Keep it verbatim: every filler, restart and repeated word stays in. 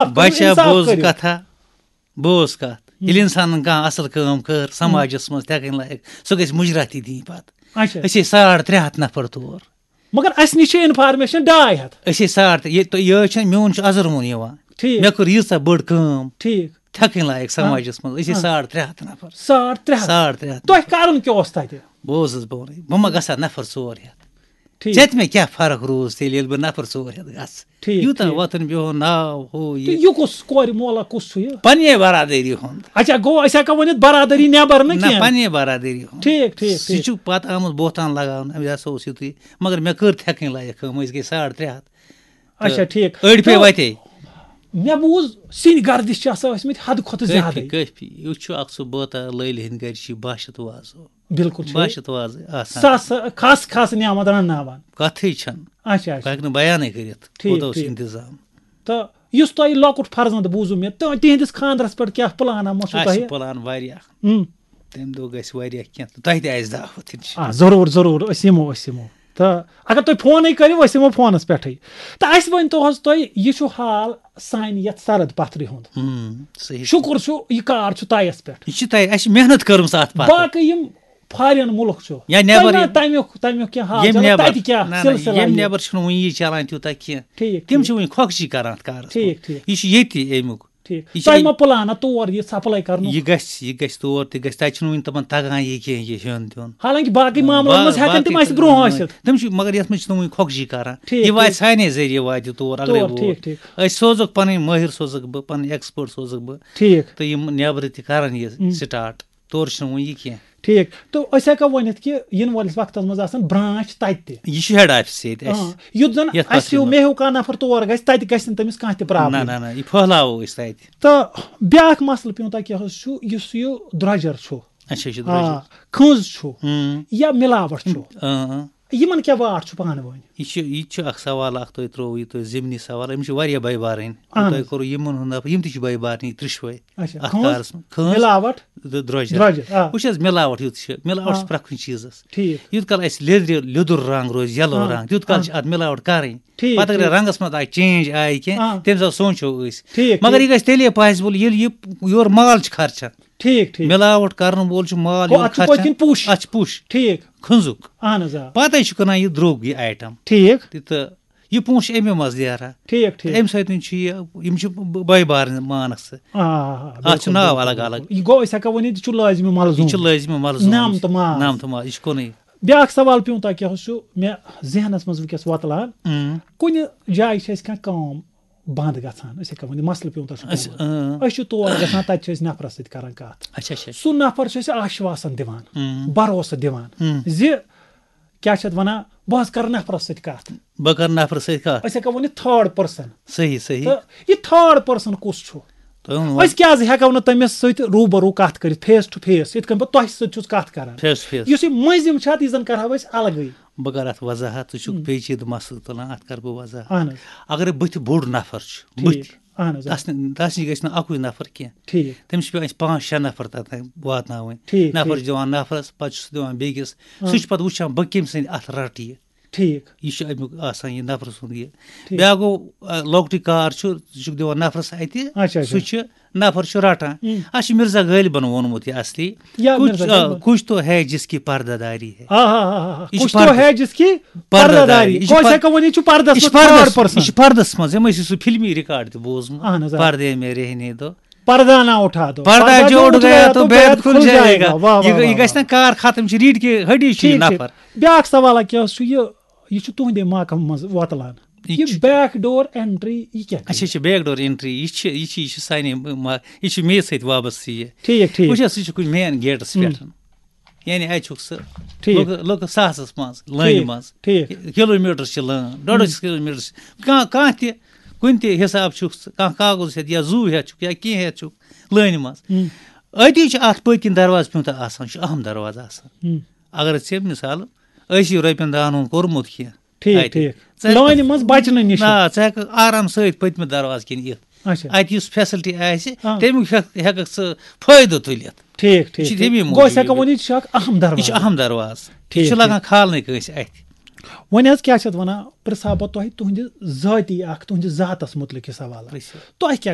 بچہ، انصاف بوز کٔرِو۔ کتھا، بوز کتھ۔ ییٚلہِ انسانن کانٛہہ اصل کٲم کٔر سماجس منٛز تہِ ہٮ۪کٕنۍ لایق، سُہ گژھِ مُجرا تہِ دِنۍ پتہٕ۔ اچھا۔ أسۍ ٲسۍ ساڑ ترٛےٚ ہتھ نفر تور۔ مگر اسہِ نِش چھِ انفارمیشن ڈاے ہتھ۔ أسۍ ٲسۍ ساڑ ترٛےٚ، ییٚتہِ تۄہہِ یہِ چھِ، میون چھُ ازر مون یِوان۔ ٹھیٖک۔ مےٚ کٔر ییٖژاہ بٔڑ کٲم۔ ٹھیٖک۔ تھٮ۪کٕنۍ لایق سماجس منٛز، أسۍ ٲسۍ ہاں۔ ساڑ ترٛےٚ ہتھ نفر۔ ساڑ ترٛےٚ ہتھ؟ ساڑ ترٛےٚ ہتھ۔ تۄہہِ کرُن کیٛاہ اوس تتہِ؟ بوز حظ، بہٕ وَنَے، بہٕ ما گژھٕ ہا نفر ژور ہتھ؟ ٹھیٖک۔ ژےٚ تہِ مےٚ کیٛاہ فرق روٗز تیٚلہِ، ییٚلہِ بہٕ نفر ژور ہتھ گژھٕ؟ ٹھیٖک، یوٗتاہ ٹھیٖک۔ وۄتھُن بِہُن ناو ہُہ تہٕ یہِ۔ یہِ کُس کورِ مولا کُس چھُ یہِ؟ پننہِ برادری ہُنٛد۔ اچھا، گوٚو أسۍ ہٮ۪کو ؤنِتھ برادری نٮ۪بر نہٕ نہ، کینٛہہ؟ پننہِ برادری ہُنٛد۔ ٹھیٖک، ٹھیٖک، سُہ ٹھیٖک۔ چھُ پتہٕ آمُت بہتان لگاونہٕ، یہِ ہسا اوس یُتُے۔ مگر مےٚ کٔر تھٮ۪کٕنۍ لایق کٲم، أسۍ گٔے ساڑ ترٛےٚ ہتھ۔ اچھا، تہٕ ٹھیٖک۔ أڑۍ پیٚیہِ تہٕ وتے۔ مےٚ بوٗز سِنۍ گردِش چھِ آسان ٲسمٕتۍ حدٕ کھۄتہٕ کٲفی، زیادٕے۔ کٲفی۔ یُس چھُ اکھ سُہ بٲتہ لٲلۍ ہٕنٛدۍ گرِ چھِ باشت وازو۔ بِلکُل چھُ۔ باشت وازٕ آسان۔ سَس کھس کھس نعمت رنناوان۔ کتھٕے چھَنہٕ۔ اچھا، اچھا۔ بہٕ ہٮ۪کہٕ نہٕ بیانٕے کٔرِتھ، ٹھیٖک، کوٗتاہ اوس ٹھیٖک۔ انتظام۔ تہٕ یُس تۄہہِ لۄکُٹ فرزند بوٗزوٗ مےٚ، تہٕ تِہنٛدِس خانٛدرس پٮ۪ٹھ کیٛاہ پلانہ ما چھُو اَسہِ تۄہہِ؟ چھِ پلان واریاہ۔ ہم۔ تَمہِ دۄہ گژھِ واریاہ کینٛہہ، تہٕ تۄہہِ تہِ آسہِ دعوت، اِنشاء آ، ضروٗر، ضروٗر، أسۍ یِمو، أسۍ یِمو۔ تہٕ اگر تُہۍ فونٕے کٔرِو، أسۍ یِمو فونس پٮ۪ٹھٕے۔ تہٕ اَسہِ ؤنۍ تو حظ تُہۍ، یہِ چھُ حال سانہِ یَتھ سرد پتھرِ ہُنٛد۔ ہم، صحیح۔ شُکُر چھُ، یہِ کار چھُ تۄہہِ پٮ۪ٹھ۔ یہِ چھُ تۄہہِ، اَسہِ چھِ محنت کٔرمٕژ اَتھ پتہٕ۔ باقٕے یِم فارین مُلک چھُ، یا نٮ۪بر تۄہہِ ما یِم، تَمیُک، تَمیُک کینٛہہ حال ییٚمہِ چلان؟ نٮ۪بر، تَتہِ کیٛاہ نہ، نہ، سلسلہ ییٚمہِ یہِ؟ نٮ۪بر چھُنہٕ وُنہِ یہِ چلان تیوٗتاہ کینٛہہ۔ ٹھیٖک، تِم ٹھیٖک۔ چھِ وُنہِ کھۄکھجی کران اَتھ کارَس ٹھیٖک، پٮ۪ٹھ۔ ٹھیٖک۔ یہِ چھُ ییٚتی اَمیُک۔ ٹھیٖک۔ یہِ چھِ تۄہہِ اَمہِ ما پلان اَتھ تور یہِ سپلاے کرنُک؟ یہِ گژھِ، یہِ گژھِ تور تہِ گژھِ، تَتہِ چھُنہٕ وُنہِ تِمن تگان یہِ کینٛہہ، یہِ ہیوٚن دیُن۔ حالانکہ باقٕے معاملن با-، منٛز ہٮ۪کن تِم باقٕے اَسہِ برونٛہہ ٲسِتھ۔ تِم چھِ، مگر یَتھ منٛز چھِ تِم وُنہِ کھۄکھجی کران۔ ٹھیٖک، یہِ واتہِ ٹھیٖک۔ سانے ذٔریعہٕ واتہِ یہِ تور، اگرے تور، ووت۔ ٹھیٖک، ٹھیٖک۔ أسۍ سوزوکھ پنٕنۍ مٲہِر سوزوکھ بہٕ، پنٕنۍ expert سوزوکھ بہٕ۔ ٹھیٖک۔ تہٕ یِم نٮ۪برٕ تہِ کرن یہِ ہُم۔ Start۔ تورٕ چھُنہٕ وۄنۍ یہِ کینٛہہ۔ ٹھیٖک۔ تہٕ أسۍ ہٮ۪کو ؤنِتھ کہِ یِنہٕ وٲلِس وقتس منٛز آسن branch تَتہِ تہِ۔ یہِ چھُ head office ییٚتہِ اَسہِ۔ آ، یُتھ زن یَتھ اَسہِ ہیوٗ، پتہٕ مےٚ ہیوٗ کانٛہہ نفر تور گژھِ، تَتہِ گژھِ نہٕ تٔمِس کانٛہہ تہِ problem۔ نہ، نہ، نہ، یہِ پھٔہلاوو أسۍ تَتہِ۔ تہٕ بیٛاکھ مسلہٕ پیوٗنٛتاہ کیٛاہ حظ چھُ، یُس یہِ درٛۄجر چھُ، اچھا، یہِ چھُ آ، درٛۄجر۔ کھٔنٛز چھُ اۭں۔ یا مِلاوٹ چھُ، اۭں۔ یِمن کیٛاہ واٹھ چھُ پانہٕ ؤنۍ؟ یہِ چھُ، یہِ تہِ چھُ اکھ سوال اکھ تۄہہِ ترٛووُ، یہِ تۄہہِ ضمنی سوال، أمِس چھِ واریاہ بٔے بارٕنۍ۔ اہن تۄہہِ حظ۔ کوٚروُ یِمن ہُنٛد نفر، یِم تہِ چھِ بٔے بارٕنۍ، یہِ ترٛیشوے۔ اچھا، اَتھ کھٔنٛز، کارَس منٛز۔ کھٔنٛز، مِلاوَٹ، تہٕ درٛۄجر۔ درٛۄجر، آ۔ وٕچھ حظ، مِلاوَٹ یُتھ چھِ، مِلاوَٹ چھِ آ۔ پرٛٮ۪تھ کُنہِ چیٖزَس۔ ٹھیٖک۔ یُتھ کال اَسہِ لیٚدرِ، لیٚدُر رنٛگ روزِ، yellow آ۔ رنٛگ، تیُتھ کال آ۔ چھِ اَتھ مِلاوَٹ کَرٕنۍ۔ ٹھیٖک، پَتہٕ اگر ٹھیٖک۔ رنٛگَس منٛز آیہِ change آیہِ کینٛہہ، آ۔ تَمہِ ساتہٕ سونٛچو أسۍ۔ ٹھیٖک، مگر ٹھیٖک۔ یہِ گژھِ تیٚلے possible، ییٚلہِ یہِ یورٕ مال چھُ خرچان۔ ٹھیٖک، ٹھیٖک۔ مِلاوَٹ کَرَن وول چھُ مال گوٚو، یورٕ اَتھ چھُ پٔتۍ خرچان۔ کِنۍ پُش۔ اَتھ چھُ پُش۔ ٹھیٖک۔ کھٔنٛزُک۔ اہن حظ، آ۔ پَتہٕ چھُ کٕنان یہِ درٛوٚگ، یہِ item۔ ٹھیٖک۔ تہِ تہٕ یہِ پونٛسہٕ چھُ اَمے منٛز نیران۔ ٹھیٖک، ٹھیٖک۔ اَمہِ سۭتۍ چھُ یہِ، یِم چھِ ب-، بٔے بارٕنۍ مانَکھ ژٕ۔ آ، آ، آ، اَتھ چھُ بِلکُل، ناو بِلکُل، الگ الگ۔ بِلکُل۔ یہِ گوٚو، أسۍ ہٮ۪کو ؤنِتھ، یہِ چھُ لٲزمہِ ملزوٗم۔ یہِ چھُ لٲزمہِ ملزوٗم۔ نَم تہٕ ماز۔ نَم تہٕ ماز، یہِ چھُ کُنُے۔ بیٛاکھ سوال پیوٗنٛتاہ کیٛاہ حظ چھُ مےٚ ذہنَس منٛز وٕنکیٚس وۄتلان؟ اۭں۔ کُنہِ جایہِ چھِ اَسہِ کانٛہہ کٲم بنٛد گژھان، أسۍ ہٮ۪کو ؤنِتھ، مسلہٕ پیوٗنٛتاہ چھُ أسۍ، پیومُت۔ اۭں۔ أسۍ چھِ تور گژھان، تَتہِ چھِ أسۍ نفرَس سۭتۍ کران کَتھ۔ اچھا، اچھا۔ سُہ نفر چھُ اَسہِ آشواسَن دِوان، اۭں۔ بھروسہٕ دِوان اۭں۔ زِ کیٛاہ چھِ اَتھ وَنان، بہٕ حظ کَرٕ نفرَس سۭتۍ کَتھ۔ بہٕ کَرٕ نفرَس سۭتۍ کَتھ۔ أسۍ ہٮ۪کو ؤنِتھ third person۔ صحیح، صحیح۔ تہٕ یہِ third person کُس چھُ؟ تُہۍ ؤنِو۔ أسۍ کیٛازِ ہٮ۪کو نہٕ تٔمِس سۭتۍ روٗبَروٗ کَتھ کٔرِتھ، face to face، یِتھ کٔنۍ بہٕ تۄہہِ سۭتۍ چھُس کَتھ کَران؟ Face to face۔ یُس یہِ مٔنٛزِم چھُ، اَتھ یہِ زَن کَرہاو أسۍ اَلگٕے۔ بہٕ کَرٕ اَتھ وضاحت، ژٕ چھُکھ ہُم۔ پیچیٖدٕ مسلہٕ تُلان، اَتھ کَرٕ بہٕ وضاحت۔ اَہَن حظ۔ اَگرے بٕتھِ بوٚڑ نفر چھُ، ٹھیٖک۔ بٕتھِ، اَہَن حظ، آ۔ تَس نِ-، تَس نِش گژھِ نہٕ اَکُے نفر کینٛہہ۔ ٹھیٖک۔ تٔمِس چھِ پٮ۪وان اَسہِ پانٛژھ شےٚ نفر تَتھ تام واتناوٕنۍ۔ ٹھیٖک، نفر ٹھیٖک۔ چھِ دِوان نفرَس، پَتہٕ چھُ سُہ دِوان بیٚکِس۔ آ۔ سُہ چھُ پَتہٕ وٕچھان، بہٕ کٔمۍ سٕنٛدِ اَتھٕ رَٹہٕ یہِ۔ ٹھیٖک۔ یہِ چھُ اَمیُک آسان، یہِ نفرٕ سُنٛد یہِ۔ ٹھیٖک۔ بیٛاکھ گوٚو، آ، لۄکٹُے کار چھُ، ژٕ چھُکھ دِوان نفرَس اَتہِ، اچھا، اچھا۔ سُہ چھُ نفر چھُ رٹان۔ ہم۔ اَسہِ چھُ مرزا غٲلبن ووٚنمُت یہِ اصلی۔ یا کچھ، مرزا آ، غٲلبن۔ کچھ تو ہے جس کی پردہ داری ہے۔ آ، آ، آ، آ۔ یہِ چھُ کچھ تو پردٕ۔ ہے جس کی پردہ پردہ داری۔ داری۔ یہِ چھُ کچھ پردٕ۔ ہٮ۪کو ؤنِتھ، یہِ چھُ پردس یہِ چھُ منٛز پردس، third person۔ یہِ چھُ پردس منٛز۔ یِم ٲسۍ سُہ فلمی ریکارڈ تہِ بوٗزمُت۔ اہن حظ، آ۔ پردے میں رہنے دو۔ پردہ نہ اٹھا دو۔ پردہ پردہ جو جو اٹھ اٹھ گیا گیا تو تو بید بید کھل کھل جائے جائے گا۔ گا۔ واہ، واہ، یہِ، واہ، یہِ واہ، گژھِ واہ۔ نہ کار ختم، چھِ ریٖڈ کے ہڈی چھِ یہِ ٹھیٖک، ٹھیٖک۔ نفر۔ بیٛاکھ سوالہ کیٛاہ اوس، چھُ یہِ، یہِ چھُ تُہنٛدے محکمہٕ منٛز وۄتلان۔ یہِ یہِ چھُ back door entry، یہِ کیٛاہ اچھا، گٔے؟ یہِ چھِ back door entry، یہِ چھِ، یہِ چھِ، یہِ چھِ سانہِ ما-، یہِ چھِ مے سۭتۍ وابستہٕ یہِ۔ ٹھیٖک، ٹھیٖک۔ وٕچھ حظ، سُہ چھُ کُنہِ main gateس ہُم۔ پٮ۪ٹھ۔ یعنی اَتہِ چھُکھ ژٕ ٹھیٖک۔ لُکہٕ، لُکہٕ ساسَس منٛز، لٲنہِ ٹھیٖک، منٛز۔ ٹھیٖک۔ کِلوٗمیٖٹر چھِ لٲن، ڈۄڈ ہَتھ ہُم۔ کِلوٗمیٖٹر چھِ۔ کانٛہہ، کانٛہہ تہِ، کُنہِ تہِ حِساب چھُکھ ژٕ، کانٛہہ کاغذ ہٮ۪تھ یا زُو ہٮ۪تھ چھُکھ یا کینٛہہ ہٮ۪تھ چھُکھ لٲنہِ منٛز۔ ہُم۔ أتی چھُ اَتھ پٔتۍ کِنۍ دروازٕ پیوٗنٛتاہ آسان، چھُ اَہَم دروازٕ آسان۔ ہُم۔ اگر ژےٚ مِثال ٲسی رۄپیَن دَہَن ہُنٛد کوٚرمُت کینٛہہ، ٹھیٖک، اَتہِ۔ ٹھیٖک۔ ژٕ ہٮ۪کھ لٲنہِ منٛز بچنہٕ نِش۔ نہ، ژٕ ہٮ۪کھ آرام سۭتۍ پٔتمہِ دروازٕ کِنۍ یِتھ۔ اچھا۔ اَتہِ یُس facility آسہِ، آ۔ تَمیُک ہٮ۪کھ، ہٮ۪کَکھ ژٕ فٲیدٕ تُلِتھ۔ ٹھیٖک، یہِ چھُ ٹھیٖک، تَمی ٹھیٖک۔ گوٚو، أسۍ موٗجوٗب۔ ہٮ۪کو ؤنِتھ، یہِ چھُ اکھ اَہَم یہِ چھُ دروازٕ۔ اَہَم دروازٕ۔ یہِ ٹھیٖک، چھُ لَگان ٹھیٖک۔ کھالنٕے کٲنٛسہِ اَتھِ۔ وۄنۍ حظ کیٛاہ چھِ اَتھ وَنان، پرٛژھٕ ہا بہٕ تۄہہِ تُہٕنٛدِ ذٲتی اَکھ، تُہٕنٛدِ ذاتَس مُتعلِق یہِ سوال۔ پرٛژھِو۔ تۄہہِ کیٛاہ